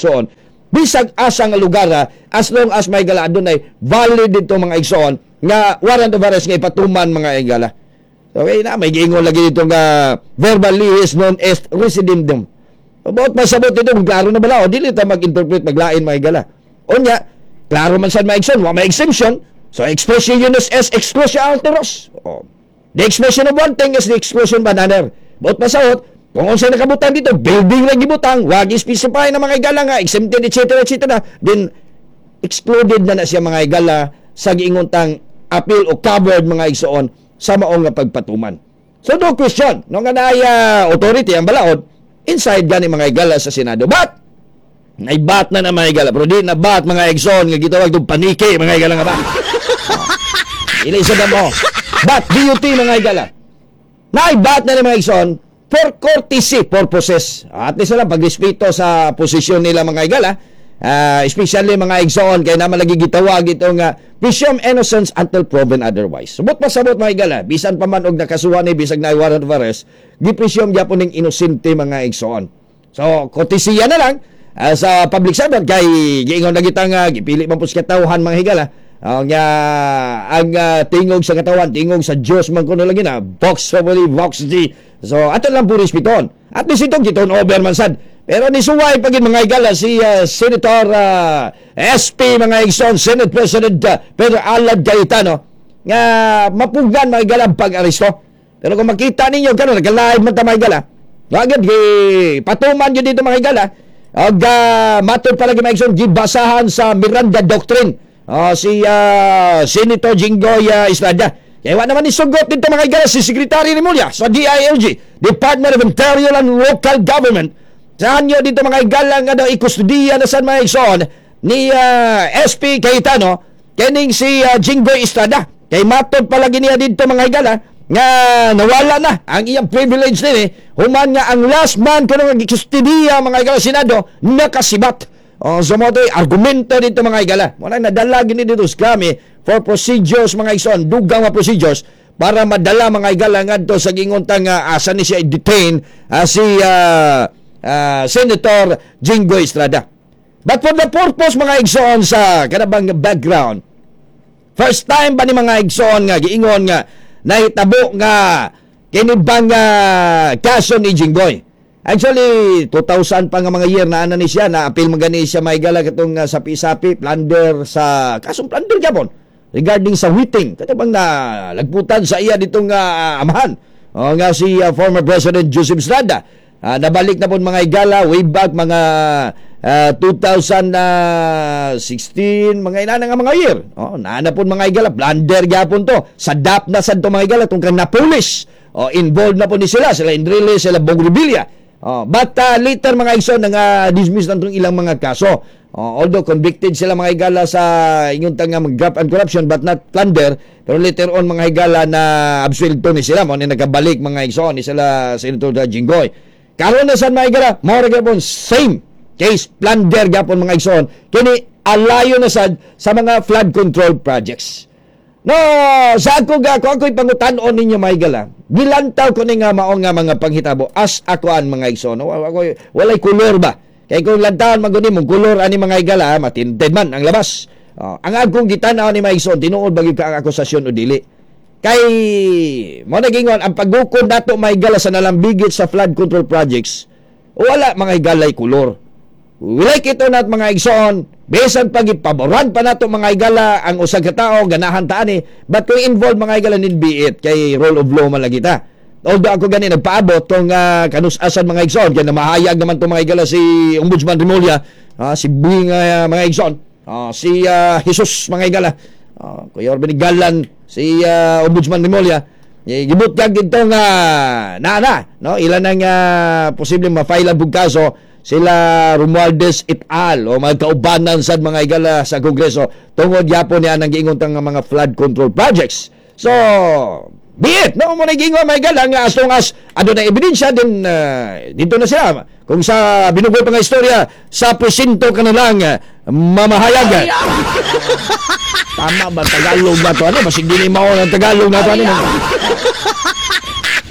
igsoon, bisag asa nga lugar, as long as may gala adunay valid dito, mga igsoon, nga warrant of arrest nga ipatuman, mga igala. Okay na, may giingon lagi dito nga verba litis non est rescidendum. About masabot dito, kung klaro na bala, o dili ta mag-interpret maglain, mga igala. Unya, klaro man sad, mga igsoon, wa may exemption. So expressio unius est exclusio alteros. Oh. The expression of one thing is the exclusion of another. Buot pasabot, kung unsay nakabutang dito, building lang gibutang, wag specify na, mga igala, nga exempted, etc., etc., then excluded na na siya, mga igala, sa giingon tang appeal o covered, mga igsoon, sa maong nga pagpatuman. So no question, no, nga naay authority ang balaod inside gani, mga igala, sa Senado. But nay but na na, mga igala, pero di na but, mga igsoon, nga gitawag dong paniki, mga igala, nga ba. Oh. Ili sa mo. But BUT, mga igala. Naay but na ni, mga igsoon, for courtesy purposes. At least lang pagrespeto sa posisyon nila, mga igala. Especially, mga igsoon, kay naman lagi gitawag ito nga presume innocence until proven otherwise. Subot pasabot, mga igala, bisan pa man og nakasuhan ni bisag na warrant of arrest, gi-presume gyapon ning inosente, mga igsoon. So, courtesy na lang sa public servant kay giingon na kita nga gipili man po sa katawhan, mga higala. Ang tingog sa katawan, tingog sa Diyos man kuno lagi na, Vox Populi, Vox Dei. So, ato lang po respeton. At least itong giton over man sad. Pero nisuway pagin, mga higala, si Senator SP, mga igsoon, Senate President Pedro Alan Cayetano, nga mapugan, mga higala, ang pag-aresto. Pero kung makita ninyo, karon nagka-live man ta, mga higala. Wagad, patuman yun dito, mga higala. Og matod palagi, mga igsoon, gibasahan sa Miranda Doctrine si Senator Jinggoy Estrada. Kaya wa naman isugot dito, mga higala, si Secretary Remulla sa DILG, Department of Interior and Local Government. Sa anyo dito, mga higala, nga daw ikustudiya na sa mga igsoon ni SP Cayetano kening si Jinggoy Estrada. Kay matod palagi niya dito, mga higala, nga nawala na ang iyang privilege nini human nga ang last man kuno nga gikustudiya, mga higala, Senado nakasibat. Oh, so mo to'y argumento dito, mga higala. Mo nang nadala gini dito kami for procedures, mga igsoon, dugang mga procedures para madala, mga higala, ngadto sa gingon nga asa ni siya i-detain si Senator Jinggoy Estrada. But for the purpose, mga igsoon, sa kanabang background, first time ba ni, mga igsoon, nga giingon nga nahitabo nga kini bang kaso ni Jinggoy? Actually, 2000 pa nga mga year na ana ni siya, na appeal man gani siya, maigala, katong sapi-sapi, plunder sa kasong plunder gyapon regarding sa whiting kato bang na lagputan sa iya ditong amahan o nga si former President Joseph Estrada. Nabalik na po, mga igala, way back mga 2016, mga inana nga mga year. Oh, naana po, mga igala, plunder gyapon to. Sa DAP na sad to, mga igala, tungkol na police. Oh, involved na po ni sila, sila Enrile, sila Bong Revilla. Oh, but later, mga igsoon, nga dismiss na itong ilang mga kaso. Oh, although convicted sila, mga higala, sa ingon nga mag graft and corruption but not plunder, pero later on, mga higala, na absuelto ni sila mo ni nagabalik, mga igsoon, ni sila Senator Jinggoy. Karon na sad, mga higala, mao ra gyapon same case, plunder gyapon, mga igsoon. Kini alayo na sad sa mga flood control projects. No, sa ako ga ko ako'y pangutan-on ninyo, mga higala. Gilantaw ko ni nga mao nga mga panghitabo as akoan, mga igsoon. No, ako walay kolor ba? Kay kung lantawan man guni mong kolor ani, mga higala, matinted man ang labas. Oh, ang akong gitan-aw ni, mga igsoon, tinuod ba gyud ka ang akusasyon o dili? Kay mo nagingon ang paggukod nato, mga higala, sa nalambigit sa flood control projects, wala, mga higalay, kolor. We like it or not, mga igsoon, bisan pag ipaboran pa nato, mga higala, ang usag ka tao, ganahan ta ani, but kung involved, mga higala, nin be it, kay rule of law man lagi ta. Although ako gani nagpaabot kung kanusasan, mga igsoon, kaya namahayag naman to, mga higala, si Ombudsman Remulla, si Bing, mga igsoon, si Jesus, mga higala, Kuya Orben Galan, si Ombudsman Remulla, eh, gibutyag dito nga na na no ilan ang posibleng ma-file ang kaso sila Romualdez et al. O mga kaubanan sad, mga higala, sa Kongreso tungod yapon niya ang giingon nga mga flood control projects. So, be it, no mo na giingon, mga higala, nga as long as aduna ebidensya din dito na sila. Kung sa binugoy pa nga istorya, sa presinto ka na lang mamahayag. Tama ba Tagalog ba to? Ano? Basig di ni mao ng Tagalog na to. Ano?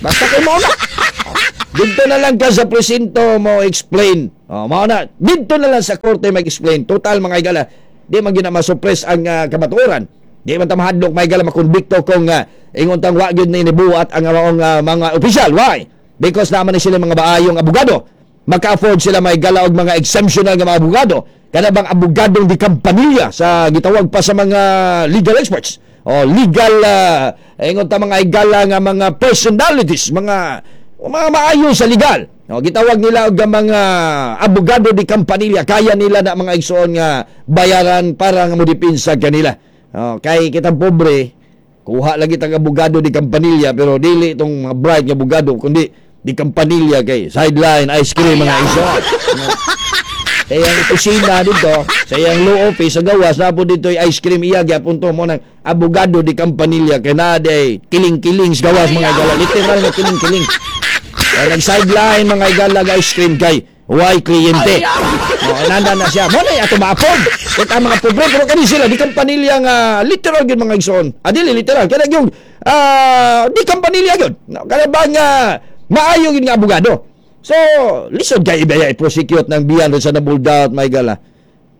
Basta kay mao na. Dito na lang ka sa presinto mo explain. Oh, mao na. Dito na lang sa korte mag-explain. Total, mga higala, di man gyud na ma-suppress ang kamatuoran. Di man ta mahadlok, mga higala, makonbikto kung ingon tang wa gyud ni nibuhat ang maong mga opisyal. Why? Because naman ni sila mga maayong abogado. Maka-afford sila, mga higala, og mga exemptional nga mga abogado. Kana bang abogadong di kampanilya sa gitawag pa sa mga legal experts o legal ingon ta, mga higala, nga mga personalities, mga maayo sa legal. No, gitawag nila og mga abogado di kampanilya, kaya nila na, mga igsoon, nga bayaran para nga modepensa kanila. No, kay kitang pobre, kuha lagi tag abogado di kampanilya, pero dili itong mga bright nga abogado kundi di kampanilya kay sideline ice cream, mga igsoon. No. Sa iyang opisina dito, sa iyang law office sa gawas, napo dito yung ice cream iya gyapon to mo ng abogado di kampanilya kay na day kiling-kiling sa gawas, mga higala, literal na kiling-kiling. Kaya nag-sideline, mga higala, ice cream kay way kliyente. Oh, nanda na siya. Mo na ato ma-afford. Kita mga pobre, pero kani sila di kampanilya nga literal gyud, mga igsoon. Ah, dili literal kaya yung di kampanilya gyud. No, kaya ba nga maayo gyud nga abogado. So, lisod kay ibaya i-prosecute ng beyond reasonable doubt, mga higala,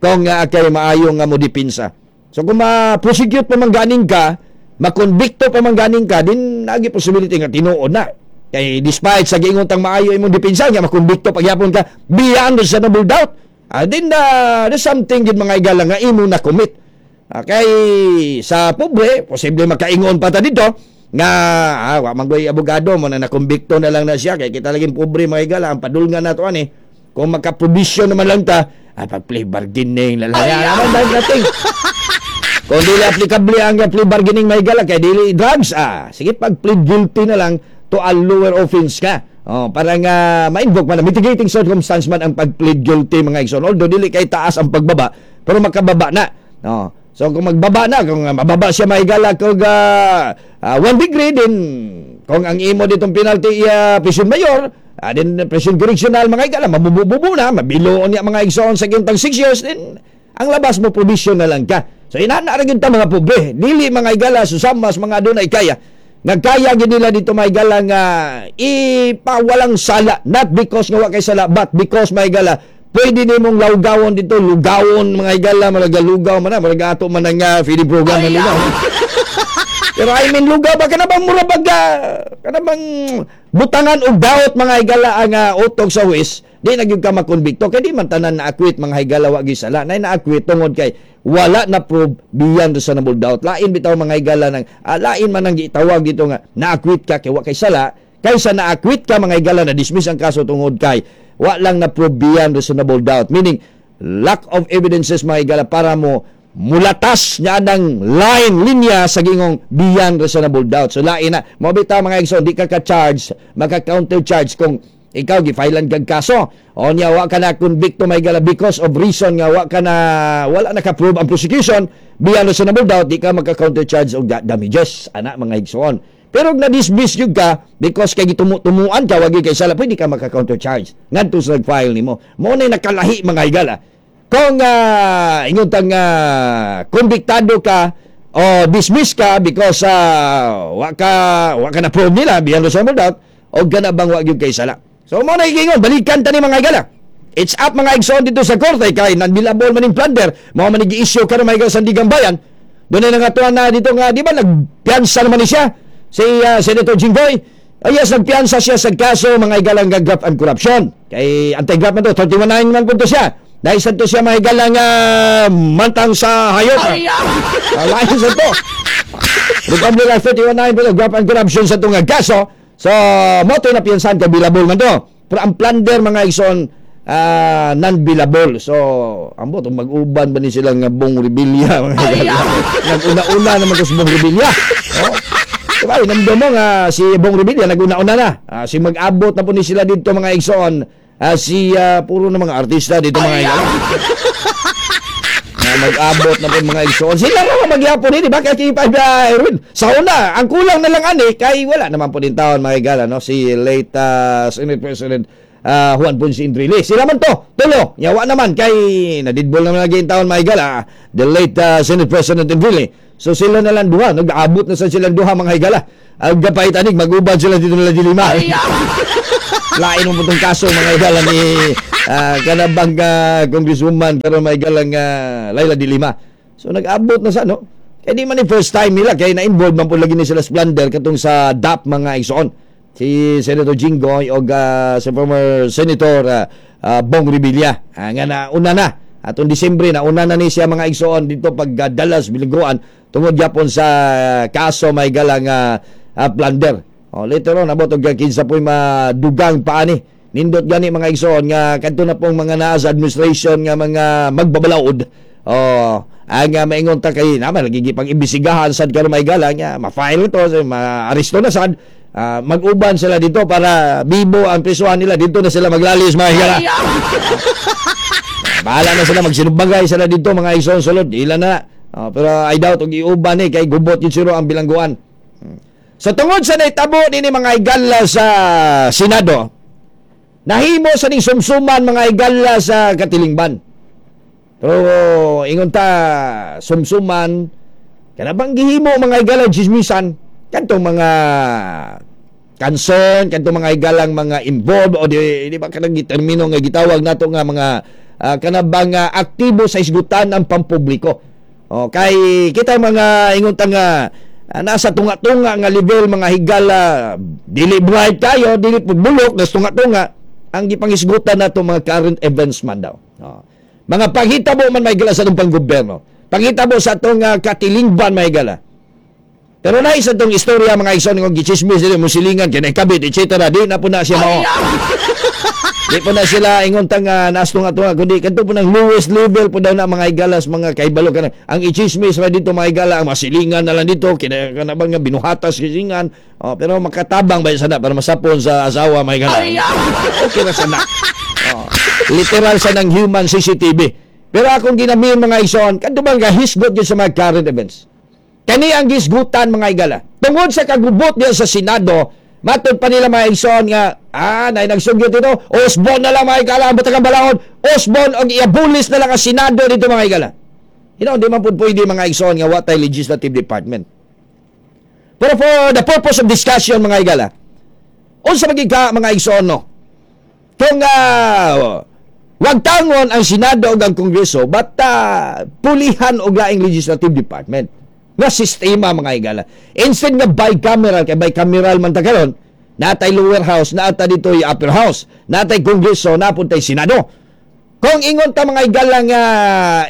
kung nga kay maayo nga mo dipinsa. So kung ma-prosecute pa man ganing ka, makonbikto pa man ganing ka, din nagi possibility nga tinuod na. Kay despite sa giingon tang maayo imong dipinsa nga makonbikto pagyapon ka beyond reasonable doubt, din na there's something gid, mga higala, nga imo na commit. Kay sa pobre, posible makaingon pa ta dito nga wa man goy abogado mo na nakumbikto na lang na siya kay kita laging pobre, mga higala, ang padulngan nato ani kung maka-provision naman lang ta, pag plea bargaining na lang naman dahil nating kung dili applicable ang plea bargaining, mga higala, kay dili drugs, sige, pag plead guilty na lang to a lower offense ka. Oh, para nga ma-invoke man na mitigating circumstance man ang pag-plead guilty, mga igsoon. Although dili kay taas ang pagbaba, pero makababa na. Oh. So kung magbaba na, kung mababa siya, mahigala, kung 1 degree din, kung ang imo ditong penalty prison mayor, din prison correctional, mga higala, mabububu na, mabiloon niya, mga igsoon, sa gintang 6 years, din ang labas mo probation na lang ka. So inana ra gyud ta mga pobre, dili, mga higala, susamas mga adunay kaya. Nga kaya gid nila dito, mga higala, nga ipawalang sala, not because nga wa kay sala but because, mga higala, pwede nimong lawgawon dito, lugawon, mga higala, murag lugaw man na, murag ato man ang feeding program na lugaw. Pero I mean, lugaw ba kana bang mura bag kana bang butangan og daot, mga higala, ang utok sa huwes, di na gyud ka makonbikto kay di man tanan na acquit, mga higala, wa gyud sala. Nay na-acquit tungod kay wala na prove beyond reasonable doubt. Lain bitaw, mga higala, ng lain man ang gitawag dito nga na-acquit ka kay wa kay sala kaysa na-acquit ka, mga higala, na dismiss ang kaso tungod kay wa lang na prove beyond reasonable doubt. Meaning, lack of evidences, mga higala, para mo mulatas niya ng line, linya sa gingong beyond reasonable doubt. So lain na. Mo bitaw, mga igsoon, di ka ka-charge, maka-counter charge kung ikaw gi-filean kag kaso. O niya wa ka na convict, mga higala, because of reason nga wa ka na wala na ka-prove ang prosecution beyond reasonable doubt, di ka maka-counter charge og damages ana, mga igsoon. Pero kung na-dismiss yun ka because kay gitumu-tumuan ka wagi kay sala, pwede ka maka-counter charge ngadto sa nag-file nimo. Mo na nakalahi, mga higala. Kung ingon tang konbiktado ka o dismiss ka because wa ka na prove nila beyond reasonable doubt o gana bang wa gyud kay sala. So mo na giingon, balikan ta ni, mga higala. It's up, mga igsoon, dito sa korte kay non-bailable man ning plunder, mao man gi-issue karon, mga higala, sa Sandiganbayan. Doon na nga na dito nga di ba nagpiyansa naman ni siya si Senator Jinggoy. Oh yes, nagpiyansa siya sa kaso, mga higala, nga graft and corruption. Kay anti-graft man to, 31 man punto siya. Dahil sa to siya, mga higala, nga mantang sa hayop. Lain sa to. Republic Act 31.9 pero graft and corruption sa itong kaso. So, mo to na piyansahan kay bailable man to. Pero ang plunder, mga igsoon, non-bailable. So, ambot, mag-uban ba ni sila nga Bong Revilla, mga higala? Nag-una-una naman ko si Bong Revilla. Oh. Diba, inamdo mo nga si Bong Revilla nag-una-una na. Si mag-abot na po ni sila dito, mga igsoon. Si puro na mga artista dito, mga higala. Na mag-abot na po mga igsoon. Sila raw ang magyapon eh, di ba? Kaya kay Erwin. Sa una, ang kulang na lang ani, kay wala naman po din taon, mga higala, no? Si late Senate President Juan Ponce Enrile. Sila man to, tulo. Yawa naman, kay nadidbol naman lagi taon, mga higala, the late Senate President Enrile. So sila na lang duha, nag-abot na sa silang duha, mga higala. Ang gapait anig, mag-uban sila dito nila dilima. Lain mo putong kaso, mga higala, ni kanabang congresswoman karon, mga higala, nga Leila de Lima. So nag-abot na sa no. Kaya di man ni first time nila kay na-involve man po lagi ni sila sa plunder katong sa DAP, mga igsoon. Si Senator Jinggoy o si former Senator Bong Revilla. Nga na una na atong Disyembre na una na ni siya, mga igsoon, dito pagdala sa bilangguan tungod gyapon sa kaso may galang plunder. Oh, later on abot og kinsa po'y madugang pa ani. Nindot gani, mga igsoon, nga kadto na pong mga naa sa administration nga mga magbabalaod. Oh, ang maingon ta kay naman lagi pang imbestigahan sad karon may gala nga ma-file ito, so, ma-aresto na sad. Mag-uban sila dito para bibo ang prisuhan nila dito na sila maglalis, mga higala. Bahala na sila magsinubagay sila dito, mga igsoon, sulod ila na. Oh, pero I doubt og iuban ni kay gubot yun siro ang bilangguan. So tungod sa naitabo nini, mga higala, sa Senado, nahimo sa ning sumsuman, mga higala, sa katilingban. Pero ingon ta sumsuman kana bang gihimo, mga higala, chismisan kadtong mga concern kadtong mga higalang mga involved o di ba kanang gitermino nga gitawag nato nga mga kanabang aktibo sa isgutan ng pampubliko. O kay kita mga ingon ta nga nasa tunga-tunga nga level, mga higala, dili bright kayo, dili pud bulok, nas tunga-tunga ang gipangisgutan nato mga current events man daw. O, mga paghitabo man may higala sa atong panggobyerno. Paghitabo sa atong katilingban, may higala. Pero na isa tong istorya, mga igsoon, ng gichismis dili mo silingan kay kabit etc. Di na po na siya mao. Di po na sila ingon tang naas tunga tunga kundi kadto po ng lowest level po daw na, mga higalas, mga kaibalo kana. Ang ichismis ra dito, mga higala, ang masilingan na lang dito kina kana bang nga binuhatas silingan. Oh, pero makatabang ba sana para masapon sa asawa, mga higala. Okay na sana. Oh, literal sa ng human CCTV. Pero akong ginamin, mga igsoon, kadto bang gahisgot yun sa mga current events. Kani ang gisgutan, mga higala. Tungod sa kagubot niya sa Senado, matod pa nila, mga igsoon, nga nay nagsugyot dito, usbon na lang, mga higala, ang batagang balaod, usbon og i-abolish na lang ang Senado dito, mga higala. Di man pud pwede, mga igsoon, nga wa tay legislative department. Pero for the purpose of discussion, mga higala, unsa magig ka, mga igsoon, no? Kung wag tangon ang Senado ug ang Kongreso, but pulihan og laing legislative department nga sistema, mga higala. Instead nga bicameral, kay bicameral man ta karon, natay lower house, naata dito yung upper house, natay Kongreso, napuntay Senado. Kung ingon ta, mga higala, nga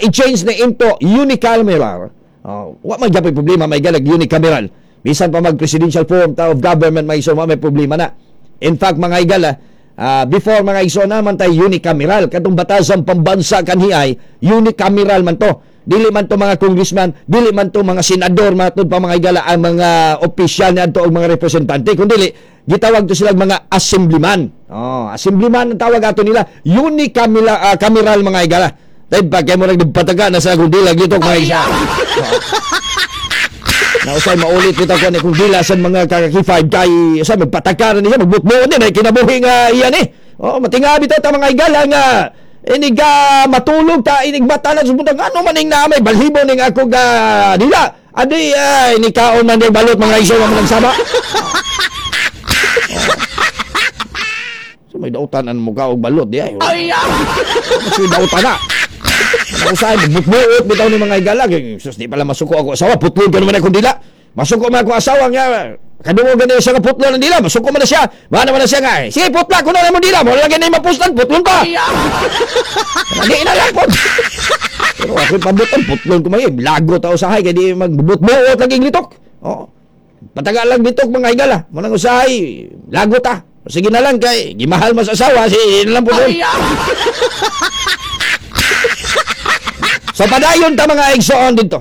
i-change na into unicameral, oh, wa man gyapon problema, mga higala, unicameral. Bisan pa mag presidential form ta of government, mga igsoon, may problema na. In fact, mga higala, before, mga igsoon, naman tay unicameral katong batasang pambansa kanhi ay unicameral man to. Dili man to mga congressman, dili man to mga senador, matud pa, mga higala, ang mga opisyal niadto og mga representante, kundi gitawag to sila mga assemblyman. Oh, assemblyman ang tawag ato nila. Unicameral cameral, mga higala. Dahil pa kay mo nagpataga na sa kung dila dito, mga higala. Na usay maulit kita ko ni kung dila sa mga kakaki 5 kay sa magpataka na niya magbutbuon din ay kinabuhi nga iyan eh. Oh, matingabi ta ta, mga higala, nga inig matulog ta, inig mata na sumunod ano maning na may balhibo ning ako ga dila. Adi ay ni kaon man day balot, mga igsoon, man sama. So may dautan ang mukha og balot di ay. Ay. Mas dautan na. Usahay, magbutbuot bitaw ni mga higala. Sus, di pala masuko ako asawa. Putlon ka naman akong dila. Masuko man ako asawa nga. Kadungog gani siya nga putlon ng dila. Masuko man na siya. Mana man na siya nga. Sige, putla ko na mo dila. Wala gani mapuslan. Putlon ka. Lagi na lang po. Pero ako'y pabutan. Putlon ko may. Lago ta usahay. Kaya di magbutbuot lagi litok. Oo. Patagal lang litok, mga higala. Manang usahay. Lago ta. Sige na lang kay gimahal mas asawa. Sige na lang po doon. So padayon ta, mga igsoon, dito.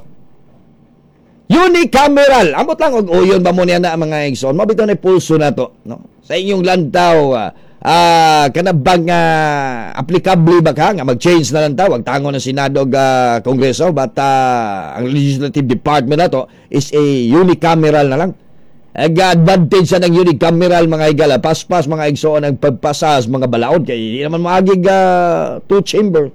Unicameral. Ambot lang og uyon ba mo niya na, mga igsoon. Mabito na pulso na to, no? Sa inyong lantaw kana bang applicable ba ka nga mag-change na lang ta, wag tangon ng Senado ug Kongreso, but ang legislative department na to is a unicameral na lang. Ag advantage sa ng unicameral, mga higala, paspas, mga igsoon, ang pagpasa sa mga balaod kay di naman maagig two chamber.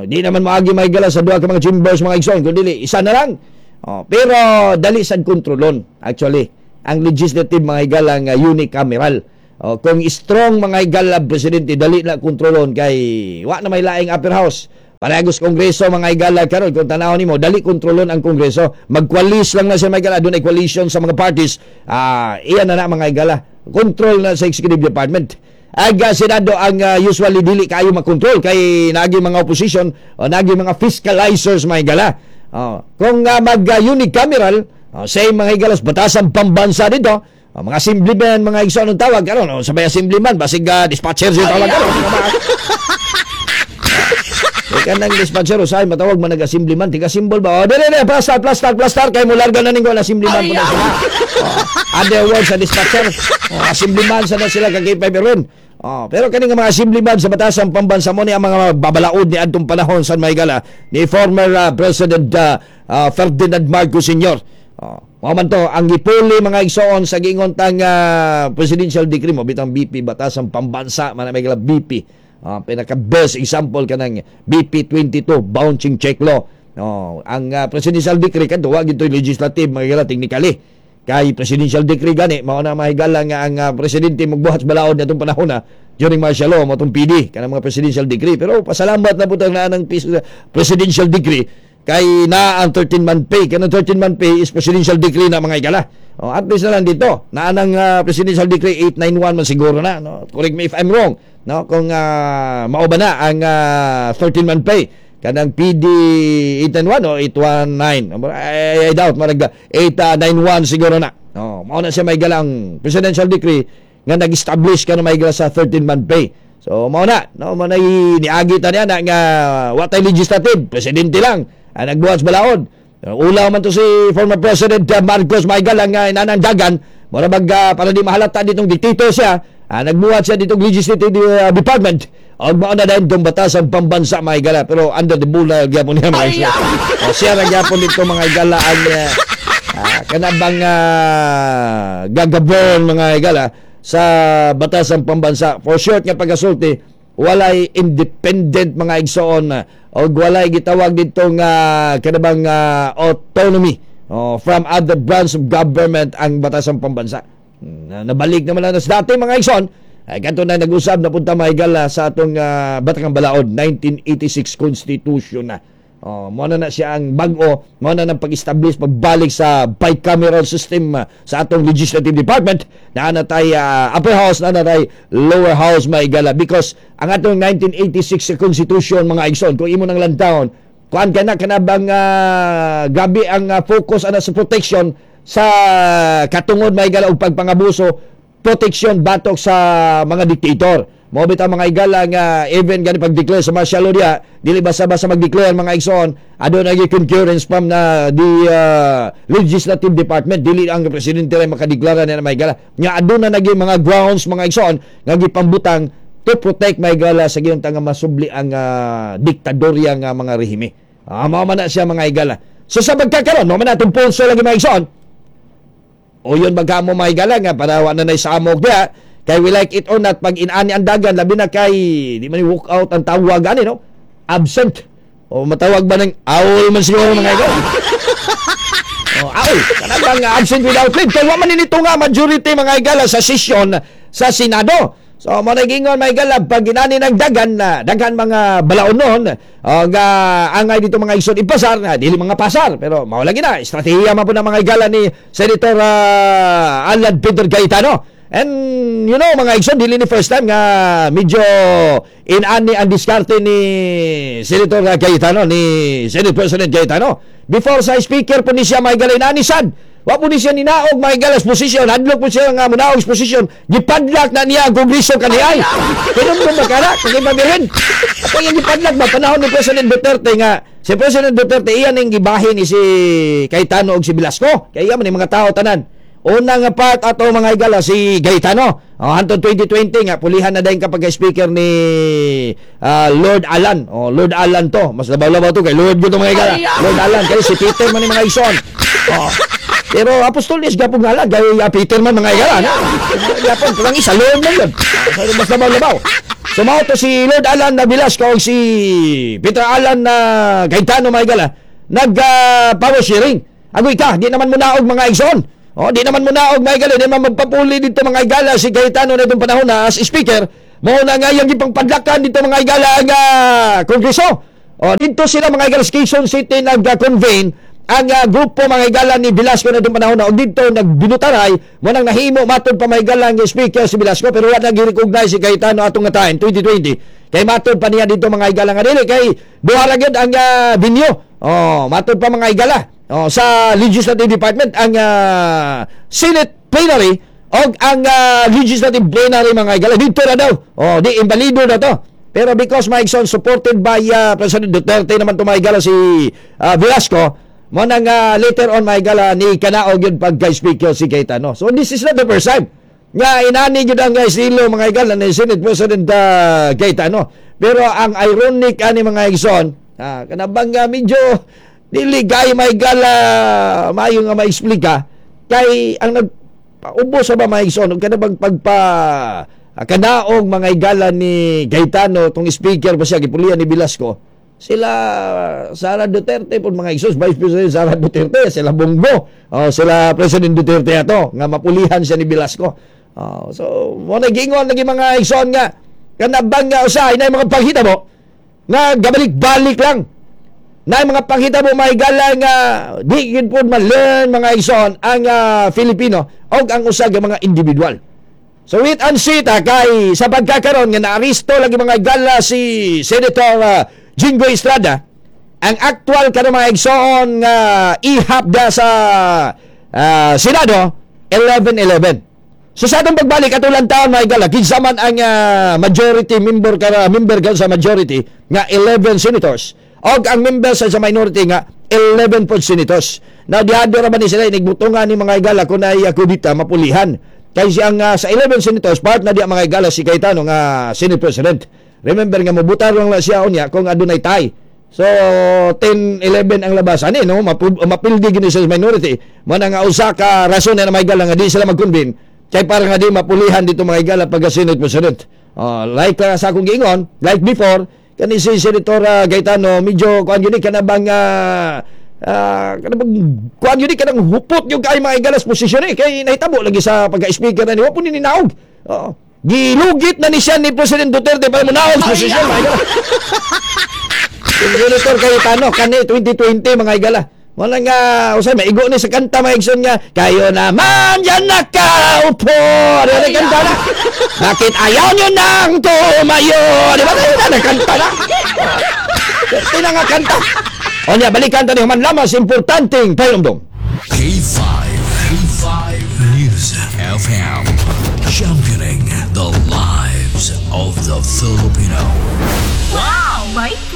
Di naman maagi may gala sa duha ka mga chambers, mga igsoon, kundi dili isa na lang. Oh, pero dali sad kontrolon actually ang legislative, mga higala, nga unicameral. Oh, kung strong, mga higala, presidente, dali na kontrolon kay wa na may laing upper house. Parehas kongreso, mga higala, karon kung tanaw nimo, dali kontrolon ang kongreso. Magkwalis lang na siya, mga higala, dunay coalition sa mga parties. Ah, iyan na na, mga higala. Control na sa executive department. Aga Senado ang usually dili kaayo makontrol kay naagi mga opposition o naagi mga fiscalizers, mga higala. Oh, kung mag unicameral, oh, same, mga higala, batasang pambansa dito. Oh, mga assemblyman, mga igsoon ang tawag karon, oh, sabay assemblyman basig dispatcher siya tawag karon. Eh, kanang dispatcher usay matawag man nag-assemblyman, tiga symbol ba? Oh, dili dili, plastar, plastar, plastar kay mularga na ning assemblyman po na sila. Oh, other words sa dispatcher, oh, assemblyman sa na sila kag K5 Erwin. Oh, pero kani nga mga assemblyman sa batasang pambansa mo ni ang mga babalaod ni adtong panahon sa Maygala ni former President Ferdinand Marcos Sr. Oh, mao man to ang gipuli, mga igsoon, sa giingon tang presidential decree mo bitang BP, batasang pambansa man may BP. Pinaka best example kanang BP 22, bouncing check law. Oh, ang presidential decree kadto wa gid legislative, mga higala, technically. Kay presidential decree gani mao na, mga higala, nga ang presidente magbuhat sa balaod natong panahon na during martial law mo tong PD kanang mga presidential decree. Pero pasalamat na pud na ang presidential decree kay na ang 13 month pay. Kanang 13 month pay is presidential decree na, mga higala. Oh, at least na lang dito na anang presidential decree 891 man siguro na, no? Correct me if I'm wrong, no, kung mao ba na ang 13 month pay kanang PD 891 o 819. I doubt, marag 891 siguro na. Oh, mao na siya may galang presidential decree nga nag-establish ka na may sa 13 month pay. So mao na, no, mao na niagi ta niya na nga wa tay legislative, presidente lang ang nagbuhat sa balaod. Ulaw man to si former President Marcos Maygala nga inanang dagan, mura bag para di mahalata ditong dictator siya, nagbuhat siya ditong legislative department. Og mao na dahil itong batasang pambansa, mga higala, pero under the bull gyapon niya, mga higala. O, siya ra gyapon dito, mga higala, ang kanabang gagabon, mga higala, sa batasang pambansa. For short nga pagkasulti, walay independent, mga igsoon, o walay gitawag dito nga kanabang autonomy, oh, from other branch of government ang batasang pambansa. Nabalik naman na sa dati, mga igsoon. Ay kanto na nag-usab na punta, mga higala, sa atong Batakang Balaod, 1986 Constitution na. Oh, mo na na siya ang bag-o, mo na nang pag-establish, pagbalik sa bicameral system sa atong legislative department na ana tay upper house na tay lower house, mga higala, because ang atong 1986 Constitution, mga igsoon, kung imo nang lantawon, kuan ka na kanabang grabe ang focus ana sa protection sa katungod, mga higala, og pagpangabuso, protection batok sa mga dictator. Mao bitaw, mga higala, nga even gani pag-declare sa martial law diya, dili basta-basta mag-declare, mga igsoon, aduna nagi concurrence from na the legislative department, dili ang presidente ray makadeklara niya, mga higala. Nga aduna nagi mga grounds, mga igsoon, nga gipambutang to protect, mga higala, sa giyong nga masubli ang diktadorya nga mga rehime. Ah, mao man na siya, mga higala. So sa pagkakaron, mao man atong pulso lagi, mga igsoon. O yun bagka mo, mga higala, nga para wa na nay samok diya kay we like it or not, pag inani ang dagan, labi na kay di man ni walk out ang tawag ani, no, absent o matawag ba ng awol man siguro, mga higala. Oh, awol kanang bang absent without leave kay wa man nito nga majority, mga higala, sa session sa Senado. So mo na gingon, mga higala, pag inani ng dagan na daghan mga balaonon o nga angay dito, mga igsoon, ipasar na dili mga pasar, pero mao lagi na estratehiya man po ng mga higala ni Senator Alan Peter Cayetano. And mga igsoon, dili ni first time nga medyo inani ang diskarte ni Senator Cayetano, ni Senate President Cayetano. Before sa speaker po ni siya, mga higala, inani sad. Wa po ni siya ninaog, mga higala, position. Hadlok po siya nga munaog sa position. Gipadlak na niya ang kongreso kaniay. Pero mo makara, kung ipabirin. Ako yung gipadlak ba, panahon ni President Duterte nga, si President Duterte, iyan ang gibahin ni si Cayetano og si Velasco. Kaya iyan man yung mga tao tanan. Una nga part ato, mga higala, si Cayetano. Oh, hantod 2020 nga pulihan na din kapag speaker ni Lord Alan. Oh, Lord Alan to. Mas labaw-labaw to kay Lord gyud to, mga higala. Lord Alan kay si Peter man ni, mga igsoon. Oh. Pero apostoles gapon ngalan kay Peter man, mga higala, no? Gapon pero ang isa Lord man yun. So, mas labaw-labaw. So mao to si Lord Alan na Velasco og si Peter Alan na Cayetano, mga higala, nag power sharing. Agoy ka, di naman mo naog, mga igsoon. Oh, di naman munaog, mga higala, di naman magpapuli dito, mga higala, si Cayetano na itong panahon na as speaker. Mao na nga yung gipangpadlakan dito, mga higala, ang kongreso. Oh, dito sila, mga higala, sa Quezon City nag-convene ang grupo, mga higala, ni Velasco na itong panahon na og dito nagbinutaray mo nang nahimo matod pa, mga higala, ang speaker si Velasco, pero wala nag-recognize si Cayetano atong nga time 2020 kay matod pa niya dito, mga higala, nga dili kay duha ra gyud ang venue. Oh, matod pa, mga higala, oh, sa legislative department ang Senate plenary og ang legislative plenary, mga higala, dito na daw. Oh, di imbalido na to. Pero because, mga igsoon, supported by President Duterte naman to, mga higala, si Velasco, mo nang later on, mga higala, ni kanaog yun pagka-speaker si Cayetano. So this is not the first time nga inani gyud ang estilo, mga higala, ni Senate President Cayetano. Pero ang ironic ani, mga igsoon, kanabang medyo dili kay, mga higala, maayo nga ma-explika kay ang nagpaubos sa ba, mga igsoon, ug kanabang pagpa kanaog, mga higala, ni Cayetano tong speaker pa siya gipulihan ni Velasco, sila Sara Duterte po, mga igsoon, Vice President Sara Duterte, sila Bongo, oh, sila President Duterte ato nga mapulihan siya ni Velasco. Oh, so mo na giingon lagi, mga igsoon, nga kanabang nga usahay na mga panghitabo nga gabalik-balik lang na mga panghitabo, mga higala, nga di gid pod ma-learn, mga igsoon, ang Filipino og ang usa ka mga individual. So wait and see ta kay sa pagkakaron nga naaristo lagi, mga higala, si Senator Jinggoy Estrada, ang actual karon, mga igsoon, nga ihap da sa Senado 11-11. So sa atong pagbalik ato lang taon, mga higala, kinsa man ang majority member kara member ka sa majority nga 11 senators og ang member sa minority nga 11 pod senators. Now dihado ra ba ni sila inigbutungan ni, mga higala, kung ay kudita mapulihan. Kay siyang sa 11 senators part na diya, mga higala, si Cayetano nga Senate President. Remember nga mobutar lang na siya unya kung adunay tie. So 10-11 ang labas ani, no, mapildi gini sa minority. Mo na nga usa ka rason na, mga higala, nga di sila mag-convene kay para nga di mapulihan dito, mga higala, pagka Senate President. Like sa akong giingon, like before kani si Senator Cayetano medyo kuan yun kana bang kana bang kuan yun kanang hupot yung kay, mga higala, sa posisyon eh kay nahitabo lagi sa pagka-speaker na ni wa po ni ninaog. Oo. Gilugit na ni siya ni President Duterte para munaog sa posisyon, mga higala. Senator Cayetano kani 2020, mga higala. Wala nga usay maigo ni sa kanta, mga igsoon, nga kayo naman dyan nakaupo. Di ba kanta na? Bakit ayaw nyo nang tumayo? Di ba kayo na kanta na? Di na nga kanta. O niya, balikan ta ni human lamas importanteng pahinumdom. K5, K5 News FM, championing the lives of the Philippines.